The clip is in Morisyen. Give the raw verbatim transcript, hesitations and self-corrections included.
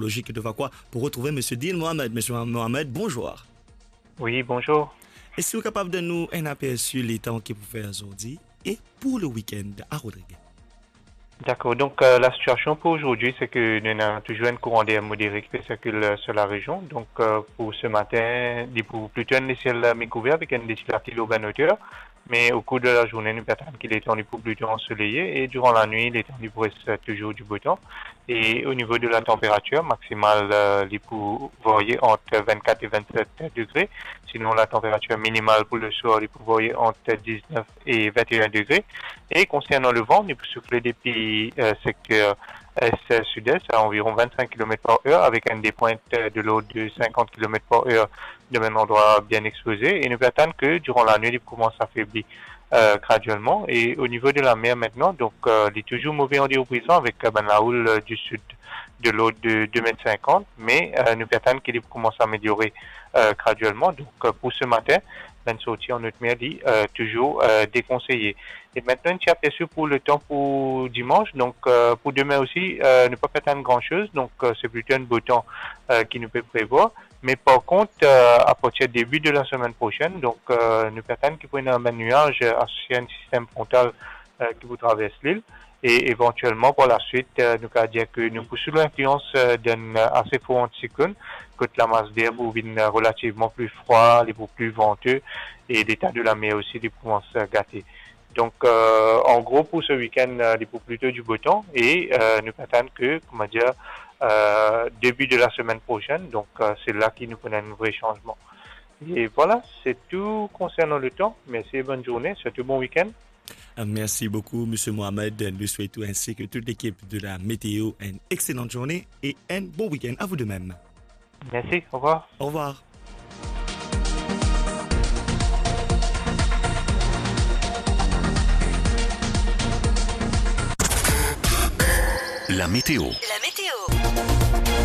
Logique de Vacois pour retrouver Monsieur Dean Mohamed. Monsieur Mohamed, bonjour. Oui, bonjour. Eski ou kapav donn nou enn apersi letan ki pou fer zordi e pou le week-end à Rodrigues? Dakor, donk, euh, lasitiasion pou zordi, se ke nou ena touzour enn kouran der modere ki pe sirkil, euh, sur la rejion. Donk, euh, pou se matin, li pou plito enn lesiel, euh, mi kouver avek enn leti lapli lor bann oter. Me o kour de lazourne, nou pe atann ki letan li pou plito ansoleye e diran lanwit, letan li pou res, euh, touzour di botan. E o nivo de la tanperatir, maksimal, euh, li pou varye ant vennkat e vennset degre. Sinon, la tanperatir minimal pou le swar, li pou varye ant diznef e vennenn degre. E konsernan levan, li pou soufle depi, euh, sekter est-sud-est à environ vingt-cinq kilomètres par heure, avec une des pointes, euh, de l'ordre de cinquante kilomètres par heure dans un endroit bien exposé. E nou pe atann ke diran lanwit, li pou koumans afebli, euh, graduelman. E o nivo de lamer aster, donk, euh, li touzour move an deor prizon avek, euh, bann laoul, euh, di sid de l'ordre de deux mètres cinquante, me, euh, nou pe atann ki li pou koumans ameliore, euh, graduelman. Donk, euh, pou se matin, bann sorti an ot mer, li, euh, touzour, euh, dekonseye. E aster, enn ti apersi pou letan pou dimans. Donk, euh, pou demin osi, euh, nou pa pe atann gran soz. Donk, euh, se plito enn bo tan, euh, ki nou pe prevwar. Me par kont, euh, apartir debi de la semenn prosenn, donk, euh, nou pe atann ki pou ena bann niaz, euh, asosie a enn sistem frontal, euh, ki pou travers lil. E evantielman, par laswit, euh, nou kapav dir ke nou pou sou linflians, euh, d'enn, euh, ase for antisiklonn, kot lamas der pou vinn, euh, relativman pli fre, li pou pli vante, e leta de lamer osi, li pou koumans, euh, gate. Donk, euh, an gro, pou se week-end, euh, li pou plito di bo tan e, euh, nou pe atann ke, kouma dir, euh, debi de la semenn prosenn, donk, euh, se la ki nou pou ena enn vre sanzman. E vwala, se tou konsernan letan. Mersi e bonn zourne, sirtou bon week-end. Euh, merci beaucoup, Monsieur Mohamed. Nous souhaitons ainsi que toute l'équipe de la météo une excellente journée et un bon week-end. À vous de même. Merci, au revoir. Au revoir. La météo. La météo.